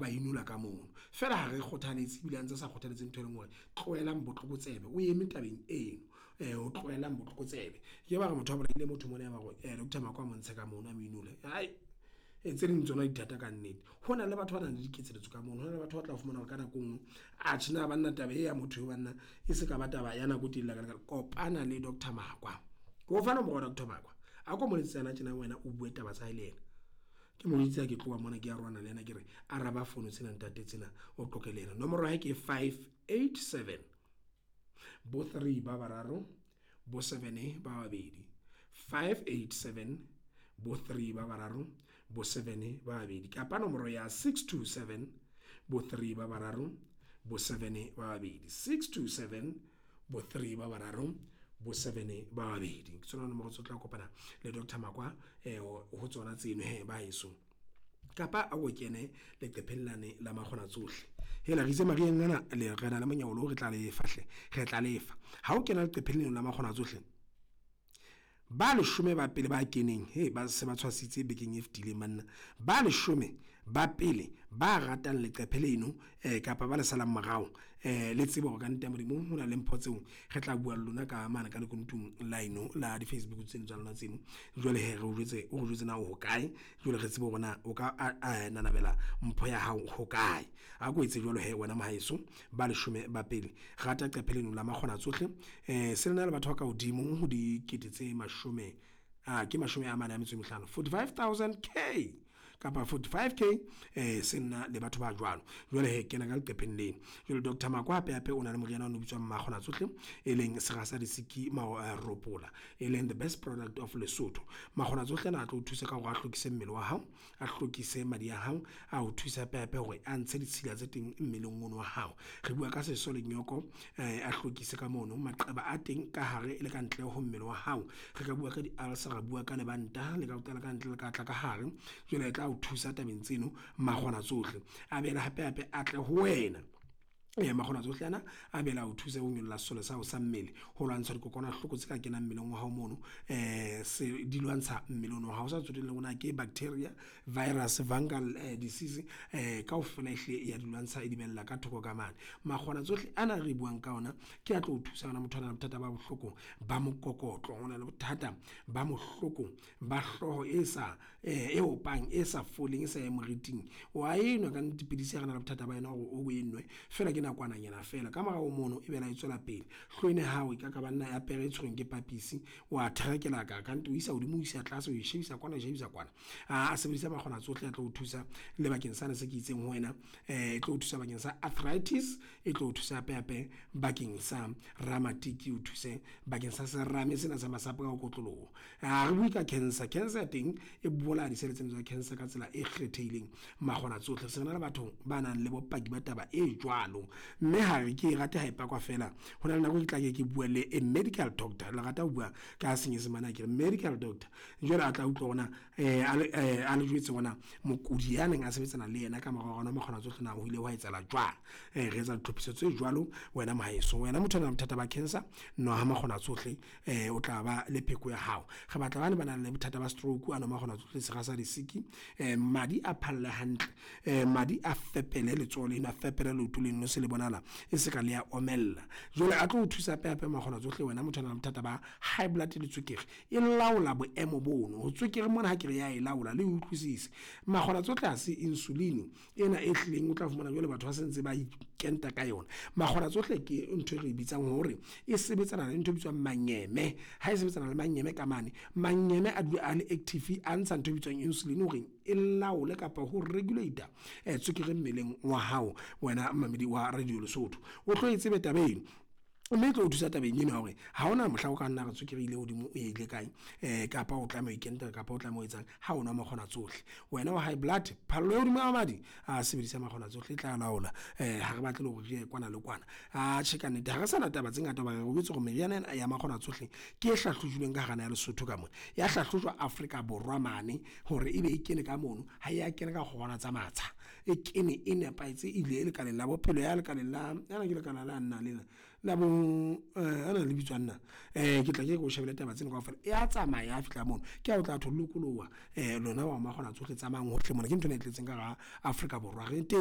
ba inola ka mono. Feela ha re kgothaletse ebile a ntse sa kgothaletse ntho e leng hore tlohelang botlokotsebe o eme tabeng eno. Ho tlohelang botlokotsebe. Ke ba re motho a bolaile motho mona ya ba hore Doctor Makwa a mo ntshe ka mono a mo inole tse ding tsona di thata ka nnete. Ho na le batho ba nang le diketseletso ka mono. Ho na le batho ba tla fumana hore ka nako e nngwe atjhe na banna taba e ya motho eo banna e se ka ba taba ya nako e telele hakana. Kopana le Doctor Makwa. Ke o fa nomoro ya Doctor Makwa. A ko mo letsetse hana tjena wena o bue taba tsa hae le yena. Ke mo jwetse ha ke tloha mona ke arohana le yena ke re araba fono tsena ntate tsena o qoqe le yena. Nomoro ya hae ke 587 bo 3 ba bararo bo 7 ba babedi. 587 bo 3 ba bararo bo 7 ba babedi kapa nomoro ya 627 bo 3 ba bararo bo 7 ba babedi. 627 bo 3 ba bararo bo 7 ba babedi. Ke tsona nomoro tse tla kopana le Doctor Makwa ho tsona tseno he ba heso. Kapa a o kene leqepheng lane la makgona tsohle. Hela re itse mariheng ana le re na le monyolo re tla lefa hle, re tla lefa. Ha o kena leqepheng leno la makgona tsohle, ba leshome ba pele ba keneng he ba se ba tshwasitse bekeng e fetileng banna. Ba leshome ba pele ba ratang leqephe leno kapa ba le salang morao le tsebe hore kannete ya Modimo ho na le mpho tseo re tla bua le lona ka mane ka lekunutung la eno la di-Facebook tseno tsa lona tseno. Jwale hee re o jwetse, o re jwetse na o hokae. Jwale re tsebe hore na o ka nanabela mpho ya hao hokae. A ko etse jwalo hee wena mohaeso, ba leshome ba pele. Rata qephe leno la makgona tsohle. Se lena le batho ba ka hodimo ho dikete tse mashome a ke 45, 45 000 K kapa 45 K se nna le batho ba jwalo. Jwale hee kena ka leqepheng leno. Jwale Doctor Makwa hape hape o na le moriana ono o bitswang Makgona Tsohle, e leng sera sa disiki ropola, e leng the best product of Lesotho. Makgona tsohle ana a tlo o thusa ka hore a hlwekise mmele wa hao, a hlwekise madi a hao, a o thusa hape hape hore a ntshe ditshila tse teng mmeleng ono wa hao. Re bua ka seso le nyoko, a hlwekise ka mono maqeba a teng ka hare le ka ntle ho mmele wa hao. Re ka bua ka di-ulcer, ra bua ka lebanta le ka o qala ka ntle le ka tla ka hare. Jwale e tla o thusa tabeng tseno makgona tsohle. A boele hape hape a tle ho wena. Makgona tsohle ana a bela o thusa ho nyolla sesole sa hao sa mmele, ho lwantsha dikokwanahloko tse ka kenang mmeleng wa hao mono. Se di lwantsha mmele ono wa hao. O sa tsotelle hore na ke bacteria, virus, fungal disease kaofela ehlile ya di lwantsha e di behella ka thoko ka mane. Makgona tsohle ana re buang ka ona ke a tlo o thusa wena motho a nang le bothata ba bohloko ba mokokotlo, o na le bothata ba bohloko ba hlooho e sa e opang, e sa foleng, e sa yang moriting. Wa enwa ka nnete pidisi ha re na le bothata ba yona hore o e nwe feela ke nakwananyana feela. Ka morao ho mono e bela e tswela pele. Hlooho ena ya hao e ka ka banna ya pere e tshwerweng ke papisi, wa therekela ka o isa hodimo, o isa tlase, o e shebisa kwana, o e shebisa kwana. A sebedisa makgona tsohle a tlo o thusa le bakeng sane se ke itseng ho wena. E tlo o thusa bakeng sa arthritis, e tlo o thusa hape hape bakeng sa ramatiki, o thuse bakeng sa serame sena sa masapo ka ho kotloloha. Ha re bue ka cancer, cancer ya teng e bolaya disele tsena tsa cancer ka tsela e kgethehileng makgona tsohle. Se re na le batho ba nang le bopaki ba taba e jwalo. Mme ha re ke e rate ha e pakwa feela. Ho na le nako ke tla ke ke bua le a medical doctor. Le rata ho bua ka senyesemane akere, medical doctor. Jwale a tla utlwa hore na a le jwetse hore na mokudi ya neng a sebetsana le yena ka mora hore makgona tsohle na ho ile hwa etsahala jwang. Re etsa ditlhophiso tse jwalo wena mohaeso. Wena motho a nang le bothata ba cancer, nwa makgona tsohle o tla ba le pheko ya hao. Re batla bane ba nang le bothata ba stroke, a nwe makgona tsohle sera sa disiki. Madi a phalle hantle, madi a fepele letsoho leno, a fepele leoto leno se le bonahala e se ka le ya omella. Jwale a tlo o thusa hape hape makgona tsohle wena motho a nang le bothata ba high blood le tswekere. E laola boemo bono, ho tswekere mona ha ke re ya e laola le utlwisise. Makgona tsohle ha se insulin ena e hlileng o tla fumana jwale batho ba se ntse ba ikenta ka yona. Makgona tsohle ke ntho e re bitsang hore e sebetsana le ntho e bitswang manyeme. Ha e sebetsana le manyeme ka mane, manyeme a dula a le active, a ntsha ntho e bitswang insulin hore e laole kapa ho regulate tswekere mmeleng wa hao wena momamedi wa Radio Lesotho. O tlo e tsebe taba eno, mme e tlo o thusa tabeng eno ya hore ha hona mohla o ka nna re tswekere ile hodimo o ile kae kapa o tlameha ho ikentela kapa o tlameha ho etsang ha o nwa makgona tsohle. Wena wa high blood, phallo ya hodimo ya madi, a sebedisa makgona tsohle e tla laola. Ha re batle le hore re ye kwana le kwana. Atjhe ka nnete ha re sana taba tse ngata hoba re jwetse hore meriana ena ya makgona tsohle ke e hlahlojilweng ka hara naha ya Lesotho ka mona. Ya hlahlojwa Afrika Borwa mane hore ebe e kene ka mono, ha ya kena ka kgorwana tsa matsha. E kene e nepahetse ile lekaleng la bophelo ya lekaleng la ana ke lekala la nna lena la bo ana le bitswang na. Ke tla ke o shebele taba tsena kaofela. E a tsamaya ha fihla mono, ke ha o tla tho lokoloha lona wa makgona tsohle tsamayang hohle mona. Ke nthwena e tletseng ka hara Afrika Borwa re teng.